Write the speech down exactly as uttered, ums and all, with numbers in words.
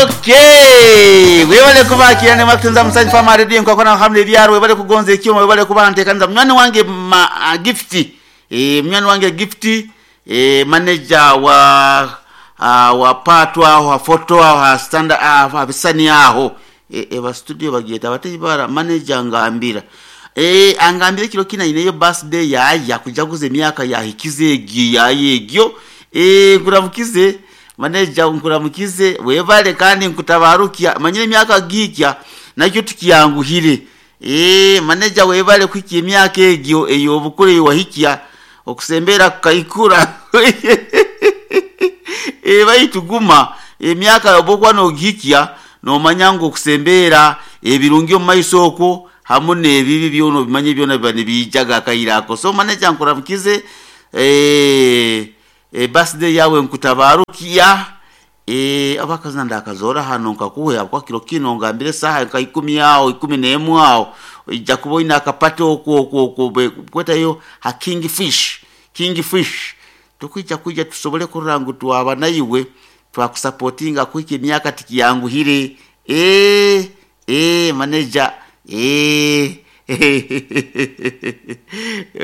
Okay, webale kubakira ne matunza musanyi fama radio nkakona hamle byaro. Webale kugonza ekyuma, webale kuba ntekaniza munywani wange ma, uh, Gift, eh munywani wange Gift, eh manager wa uh, wa patwa aho ha photo aho ha stand aho ha bisani aho e, e ba studio bagiyeta batebara manager ngambira eh angambira kiro kina ineyo birthday yaya kujaguza emyaka yahikize egi yayegyo. eh nkuramukize manager, nkuramukize, webale kandi nkutabarukia manyire emyaka gikya nakyo tukiyanguhire. eh manager webale kuhikya emyaka egyo ey'obukuru wahikya okusembera kukaikura. eh baitu guma emyaka obwokuba nogihikya nomanya ngu okusembera ebirungi omu maiso okwo hamu n'ebibi byona obimanye byona biba nibiijaga akaire ako. So manager, nkuramukize, eh e birthday yawe nkutabarukia. eh abakazina ndakazora hano nkakuhe kwa kiro kino ngambire saha nka ikumi aho ikumi n'emu aho ijja kuba oyina akapate okwo okwo okwo kwetayo ha King Fish. King Fish tukwija kwija tusobole kurora ngu twaba naiwe twakusapotinga kuhika emyaka tikiyanguhire. eh eh manager, eh.